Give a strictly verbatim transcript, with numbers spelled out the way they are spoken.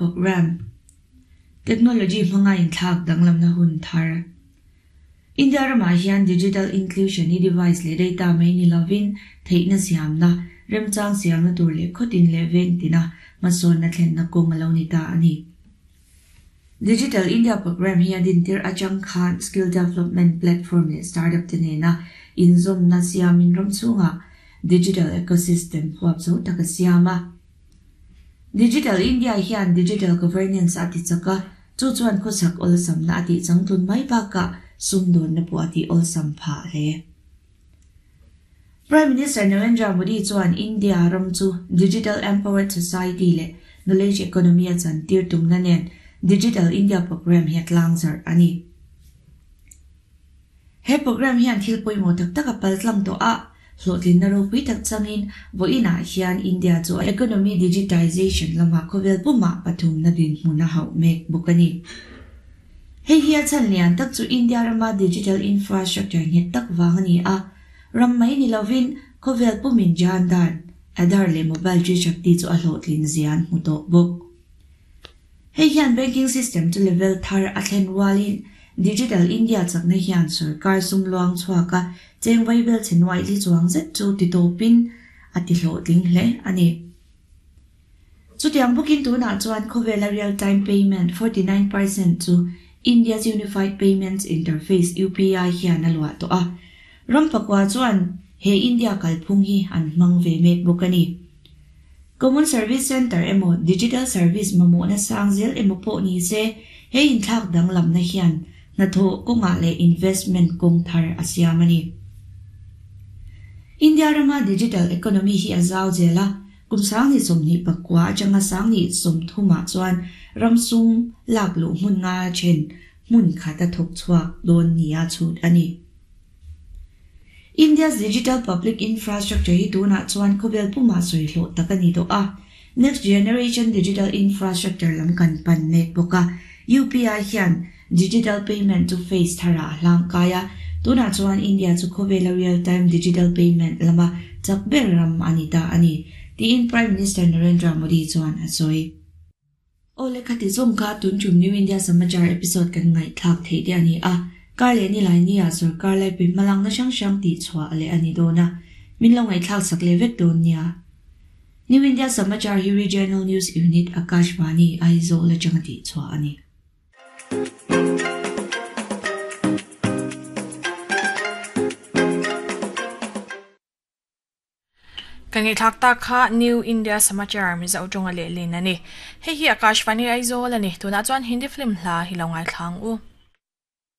Program Technology hmanga inthlak danglamna hun thar. India ramah hian digital inclusion hi device leh data mai ni lovin theihna siamna remchang siamna tur leh khawtin leh veng tina hmasawnna thlenna kawng a lo ni ta a ni. Digital India Program hi a dintir atang khan skill development platform leh startup te nena inzawmna siamin ram chhungah digital ecosystem huap zo tak a siam a. Digital India hian digital governance a ti chak a, chu chuan khawchhak awlsamna a tih changtlun mai bakah sumdawnna pawh a tih awlsam phah hle. Prime Minister Narendra Modi chuan India ram chu Digital Empowered Society leh Knowledge Economy a chantir tumna nen Digital India Program hi a tlang zarh a ni. He program hian thil pawimawh tak tak a pal tlang tawh a, hlawhtlinna ropui tak changin vawiinah hian India chu economy digitization lamah khawvel pumah pathumna dinhmun a hauh mek bawk a ni. Hei hi a chhan lian tak chu India rama digital infrastructure nghet tak vang a ni a, ram mai ni lovin khawvel pumin Jan Dhan, Aadhaar leh mobile chi shakti chu a hlawhtlin zian hmu tawh bawk. Hei hian banking system chu level thar a thlen rualin Digital India chakna hian sarkar sum luang chhuak a cheng vaibel che nuai li chuang zet chu ti tawpin a ti hlawhtling hle a ni. Chutiang bawkin tunah chuan khawvela real time payment forty nine percent chu India's Unified Payments Interface U P I hian a luah tawh a. Ram pakua chuan he India kalphung hi an hmang ve mek bawk a ni. Common Service Centre emaw Digital Service mamawhna sang zel emaw pawh ni se he inthlak danglamna hian hnathawh kawngah leh investment kawng thar a siam a ni. India rama digital economy hi a zau zel a, kum sang ni sawmhnih pakua atanga sang ni sawmthumah chuan ram sum lak luh hmun nga then hmun khat a thawk chhuak dawn nia chhut a ni. India's digital public infrastructure hi tunah chuan khawvel pumah sawi hlawh tak a ni tawh a. Next generation digital infrastructure lam kan pan mek bawk a. U P I hian digital payment chu face tharah a hlang kai a. Tunah chuan India chu khawvela real time digital payment lama chak ber ram a ni ta a ni, tiin Prime Minister Narendra Modi chuan a sawi. Aw le khati zawng kha tun tum New India Samachar episode kan ngaihthlak theih te a ni a. Kar leh ni lai nia sarkar lai pe hmalangna hrang hrang tih chhuah leh a ni dawn a. Min lo ngaihthlak sak leh vek dawn nia. New India Samachar hi Regional News Unit Akashvani Aizawl atanga tih chhuah a ni. Kan ngaihthlak tak kha New India Samachar Mizo tawnga leh lin a ni. Hei hi Akashvani Aizawl a ni. Tunah chuan Hindi film hla hi lo ngaithlang u.